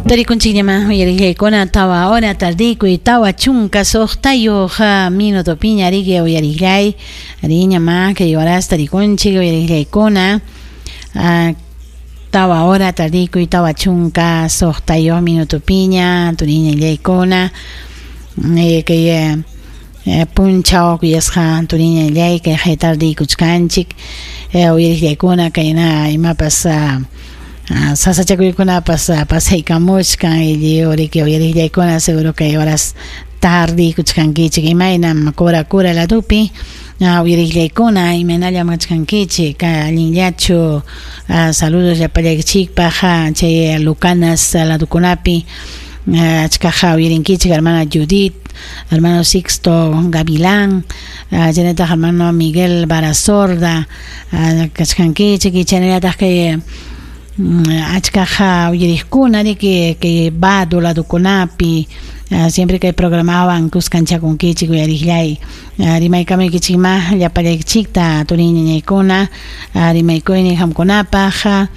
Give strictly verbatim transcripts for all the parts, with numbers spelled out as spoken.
Tarikunchikñama uyariqllaykuna tawa hora tardikuy tawa chunka suqtayuq minuto piña riki uyariqllay riñama kay horas tarikunchik uyariqllaykuna tawa hora tardikuy tawa chunka suqtayuq minuto piña turiñallaykuna kay punchaw kuyasqa turiñallay kay haytardikuchkanchik uyariqllaykuna kayna imapas sasachakuykunapas pasaykamuchkan lliw riki uyariqllaykuna seguro kay horas tardikuchkankichik imaynam Cora Cora ladupi uyariqllaykuna imaynallam kachkankichik allinllachu saludos llapallaykichikpaq chay Lucanas ladukunapi achkaqa uyarinkichik hermana Judith, hermano Sixto Gavilán, chaynataq hermano Miguel Barasorda kachkankichik y chaynallataq kay achkaqa uyariqkuna riki kay Bado ladukunapi siempre kay programawan kuskanchakunkichik uyariqllay rimaykamuykichikma llapallaykichikta turiñañaykuna rimaykuynin qamkunapaq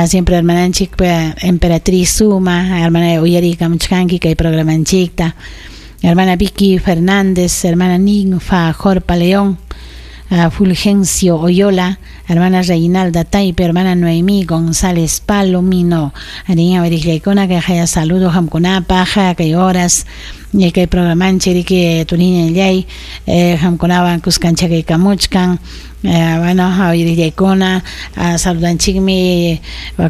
siempre hermananchik Emperatriz Suma hermana uyarikamuchkanki kay programanchikta hermana Vicky Fernández, hermana Ninfa Jorpa León, Fulgencio Oyola, hermana Reinalda Taipe, hermana Noemí González Palomino, ariña uyariqllaykuna kay haya saludo qamkunapaq kay horas kay programanchik riki turiñallay qamkunawan kuskanchakaykamuchkan bueno uyariqllaykuna saludanchikmi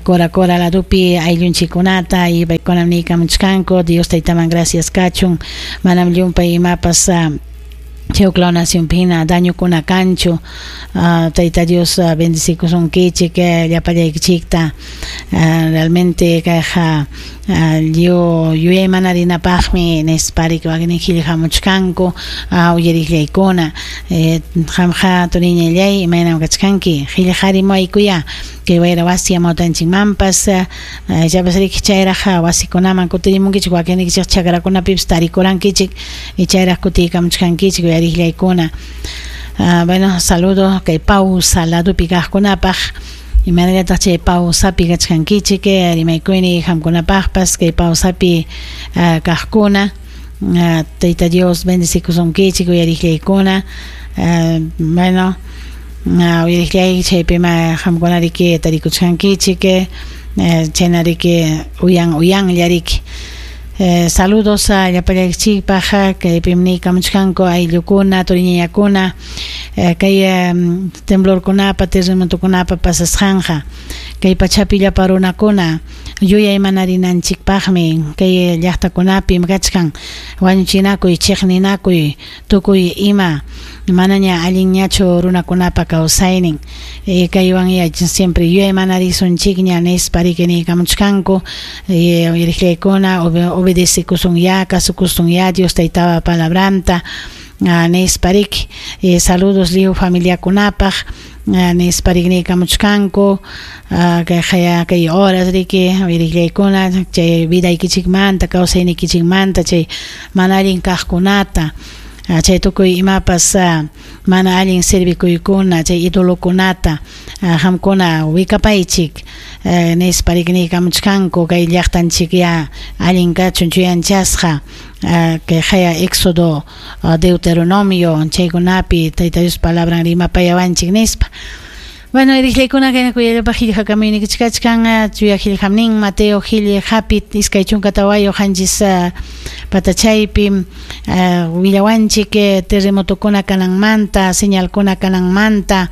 Cora Cora ladupi ayllunchikkunata y paykunam niykamuchkanku Dios taytaman gracias kachun manam llumpay imapas chay huk law nacionpina dañokuna kanchu Tayta Dios bendecikusunkichik llapallaykichikta realmente kayqa lliw yuyaymanarинapaqmi nispa riki wakin qillqamuchkanku uyariqllaykuna qamqa turiñallay imaynam kachkanki qillqarimuwaykuya kay wayra wasi amawtanchikmanpas ichapas riki chayraq wasikunaman kutirimunkichik wakinnikichik chakrakunapipis tarikurankichik y chayraq kutiykamuchkankichik uyariqllaykuna bueno saludo kay Pausa ladupi kaqkunapaq imaynallataq chay pausapi kachkankichik rimaykuyni qamkunapaqpas kay pausapi kaqkuna Tayta Dios bendecikusunkichik uyariqllaykuna bueno uyariqllay chaypima qamkuna riki tarikuchkankichik chayna riki uyan uyanlla riki saludos a llapallaykichikpaq kaypim niykamuchkanku ayllukuna turiñañakuna kay temblorkunapa terremotokunapa pasasqanqa kay pachapi llapa runakuna yuyaymanarинanchikpaqmi kay llaqtakunapim kachkan wañuchinakuy chiqninakuy tukuy ima manaña allinñachu runakunapa kawsaynin kaywan siempre yuyaymanarisunchikña nispa riki niykamuchkanku uyariqllaykuna obedecekusunya kasukusunya Dios taytapa palabranta nispa riki saludos lliw familiakunapaq nispa riki niykamuchkanku kay kay horas riki uyariqllaykuna chay vidaykichikmanta kawsaynikichikmanta chay mana allin kaqkunata chay tukuy imapas mana allin servikuykuna chay idolokunata qamkuna wikapaychik nispa riki niykamuchkanku kay llaqtanchik ya allin kachun chuyanchasqa kay haya Éxodo Deuteronomio chaykunapi Tayta Dios palabran rimapayawanchik nispa. Bueno, uyariqllaykuna kay kuyallapaq qillqakamuynikichkachkan chuya qillqamnin Mateo qillqapi iskay chunka tawayuq qanchis patachaypi willawanchik terremotokuna kananmanta señalkuna kananmanta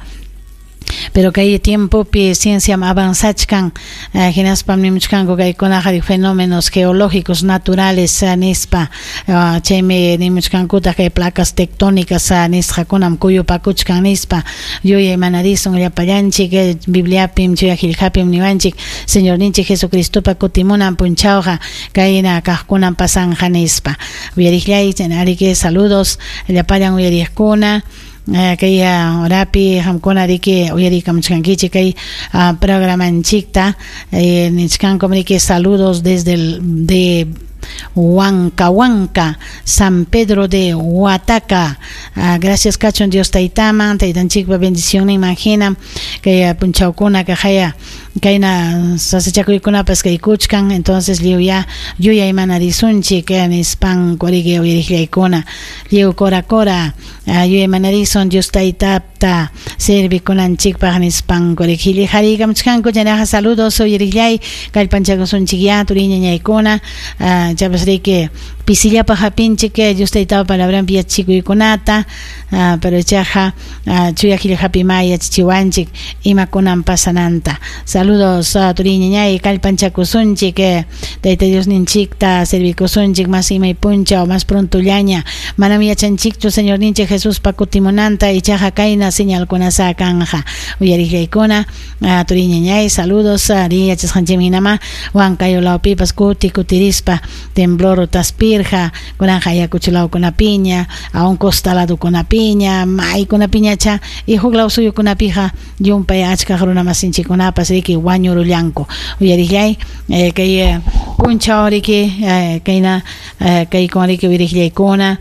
pero kay tiempopi ciencia avanzachkan hinaspam nimuchkanku kaykunaqa fenómenos geológicos naturales nispa chaymi nimuchkankutaq kay placas tectónicas nisqakunam kuyupakuchkan nispa yuyaymanarisun llapallanchik Bibliapim chuya qillqapim niwanchik Señorninchik Jesucristopa kutimunan punchawqa kayna kaqkunan pasanqa nispa uyariqllay ariki saludos llapallan uyariqkuna kay horapi qamkuna riki uyarikamuchkankichik kay programanchikta nichkankum riki saludos desde el de Huanca Huanca, San Pedro de Huataca. Ah, gracias kachun Dios taytaman, taytanchikpa bendición imagina kay punchawkuna kaqaya kayna sasachakuykunapas kaykuchkan, entonces lliw ya yuyaymanarisunchik nispanku riki uyariqllaykuna lliw kora kora yuyaymanarisun Dios taytapta servikunanchikpaq nispanku riki qillqariykamuchkanku. Chaynaqa saludos uyariqllay, kallpanchakusunchik ya turiñañaykuna, chapas riki pisillapaq hapinchik Dios taytapa palabranpi yachachikuykunata, pero ichaqa chuya qillqapi ma yachachiwanchik imakunan pasananta. Saludos turiñañay, kallpanchakusunchik Tayta Dios ninchikta servikusunchik mas imay punchaw mas prontollaña, manam yachanchikchu Señor ninchik Jesuspa kutimunanta, ichaqa kayna señalkunasa kanja. Uyariqllaykuna turiñañay, saludos ri yachasqanchikmi hinama Huancayo lawpipas kuti kutirispa temblor taspirqa kunanqa Ayacucho lawkunapiña, aun costa ladukunapiña, maykunapiñacha y huk law suyukunapiqa llumpay achkaq runa masinchikkunapas riki wañurullanku. Uyariqllay kay punchaw riki kayna kaykun riki uyariqllaykuna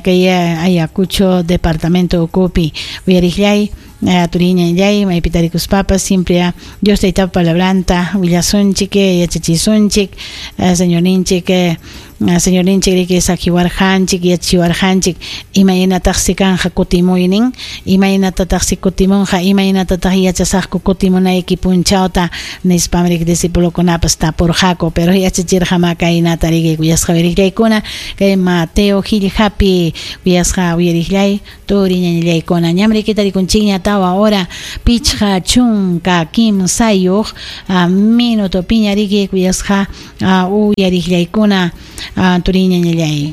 kay Ayacucho departamento ukupi. Uyariqllay turiñañay, maypi tarikuspapas siempre Dios taytapa palabranta willasunchik, yachachisunchik, Señorninchik Señorninchik riki saqiwarqanchik, yachachiwarqanchik imaynatataqsi kanja kutimuynin, imaynatataqsi kutimunqa, imaynatataq yachasaqku kutimunayki punchawta nispam riki discipulokunapas tapurqaku, pero yachachirqa ma kaynata riki kuyasqa uyariqllaykuna kay Mateo qillqapi kuyasqa uyariqllay turiñañallaykuna. Ñam riki tarikunchikña tawa hora pichqa chunka kimsayuq minuto piña riki kuyasqa uyariqllaykuna turiñañallay.